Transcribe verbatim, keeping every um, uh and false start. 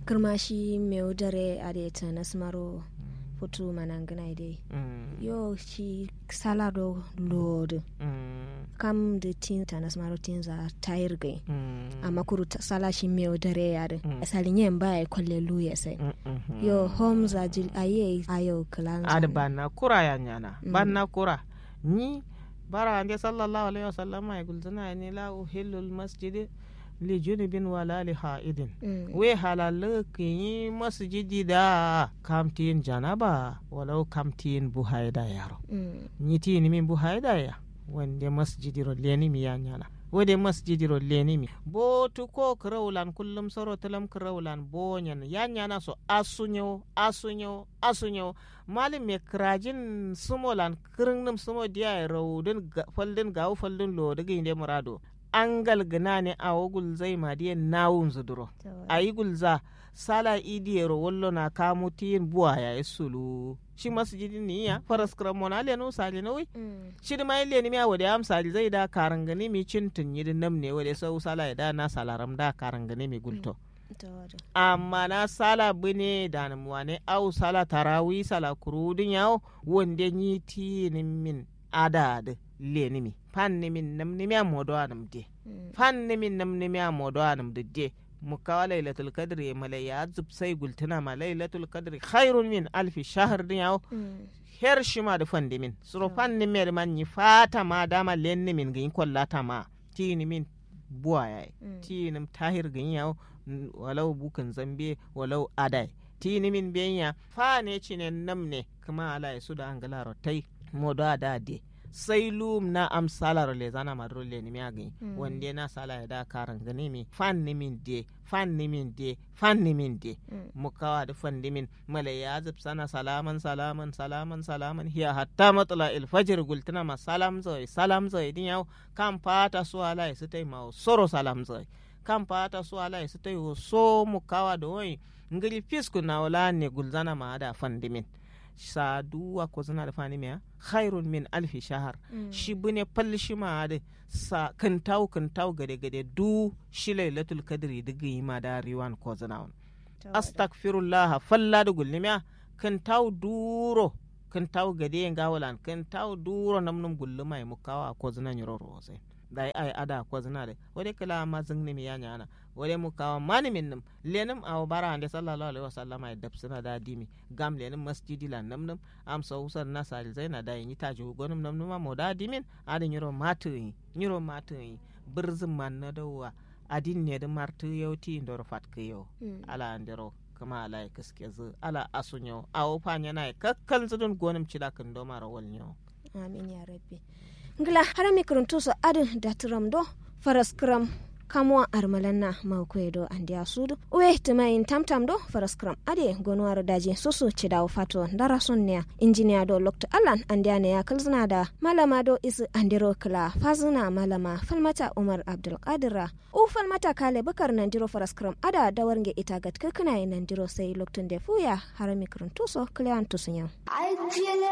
Kǝrma shi mewu dare adǝ ye tanas maro futu manangǝna ye dai. Yo shi sala do lowo dǝ, kam dǝ tin tanas maro tinza tayir gai. Amma kuru sala shi mewu dare ye adǝ, salinye mba ye kolle luye sai. Yo hom za jil ayi ye ayo kǝlanza. Adǝ banna kura ya nyana, banna kura. Nyi bara ande sallallahu alaihi wasallam ye gulzǝna ye ni la uhillul masjidi li junubin wala li ha'idin. Wai halallu kǝnyi masjidi da kam tiyin janaba walau kam tiyin buhaida yaro. Nyi tiyinimin buhaida ya wande masjidiro lenimi ya nyana. Wade masjidiro lenimi botu ko kǝraulan kullum soro tǝlam kǝraulan bonyen ya nyana so asu nyawo asu nyawo asu nyawo. Malum me kǝrajin sumolan kǝrǝnnum sumo diya ye raudǝn faldǝn gawu faldǝn lodǝ gǝyinde murado. Angal gǝnane awo gulzai madiye nawunzǝ duro. Ayi gulza sala idiyero wallona kamu tiyin buwa yayi suluwu. Shi masjidin niya faraskǝrammo na lenu salinawui. Shidǝma ye lenimiya wade amsali zai da karangǝnimi cintǝn nyidǝ namne wade sau sala ye da na salaram da karangǝnimi gulto. Amma na sala bǝne danǝm wane au sala tarawi sala kuruwudǝn yawo wande nyi tiyinǝmmin adadǝ lenǝmi. Fannǝmin namnǝmiya modowanǝm de. Fannǝmin namnǝmiya modowanǝm dǝ de. Mukkawa lailatul kadri ye malaiya zǝbsai gultǝnama lailatul kadri hairun min alfi shahar dǝn yawo. Her shimadǝ fandǝmin suro fannǝmiyadǝ man nyi fatama dama lennǝmin gǝnyi kollatama. Tiyinǝmin buwa yayi. Tiyinǝm tahir gǝnyi yawo. Walau bukǝn zambe walau adai tiyinǝmin beyinya. Fane cinen namne kǝma alaye suda angǝlaro tai. Modowa da de sai luwum na am salaro lezanama duro lenǝmiya gǝnyi. Wande na salaye da karangǝnimi fannǝmin de fannǝmin de fannǝmin de. Mukkawa dǝ fandǝmin malaiya zǝbsana salaman salaman salaman salaman hiya hatta matsala ilfajir gultǝnama salamzoi salamzoi dǝn yawo. Kam fata su alaye sǝtai mawo soro salamzoi. Kam fata su alaye sǝtai wo so mukkawa dowoi. Ngǝri fisku nawo lanne gulzanama ada fandǝmin. Sa duwwa kozǝna dǝ fanimiya hairun min alfi shahar. Shi bǝne fal shima adǝ sa kǝntawu kǝntawu gade gade duwu shi lailatul kadri dǝ gǝyima da riwan kozǝnawun. Astagfirullaha falla dǝ gullumiya. Kǝntawu duwuro kǝntawu gade ye ngawolan kǝntawu duwuro namnǝm gulluma ye mukkawa kozǝna nyiro rowozain. Dayi ayi ada kozǝna dǝ wade kǝla amma zǝngnǝmi ya nyana. Wade mukkawa manǝmin nǝm lenǝm awo bara ande sallallahu alaihi wasallama ye dapsǝna da dimi. Gam lenǝm masjidilan namnǝm. Amso wusan na salizaina dayi nyi tajiwu gonǝm namnǝma moda dimin. Adǝ nyiro matǝ gǝnyi nyiro matǝ gǝnyi. Bǝrzǝm manna dauwa. Adin nedǝ martǝ yau tiyindoro fatkǝ yau. Ala andero kǝma alaye kǝskezǝ ala asu nyawo awo fa nyanaye kakkalnzǝ dǝn gonǝm cida kǝndomaro wal nyawo. Amin ya rabbi. Ngla harami kǝrǝntuso adǝ datǝram do faraskǝram. Kamuwa armalanna maukoye do andeya sudu uwe tǝmayin tamtam do faraskǝram adǝye gonuwaro daji susu cidawu fato ndarason neya. Injiniya do loktu allan andeya neya kǝlzǝna da malama do isǝ andero kǝla fazǝna malama falmata umar abdulkadirra. U falmata kale bǝkar nandiro faraskǝram ada dawarnge ita gatkǝkkǝnaye nandiro sai loktunde fuya. Harami kǝrǝntuso kǝlewan tusu nyawu.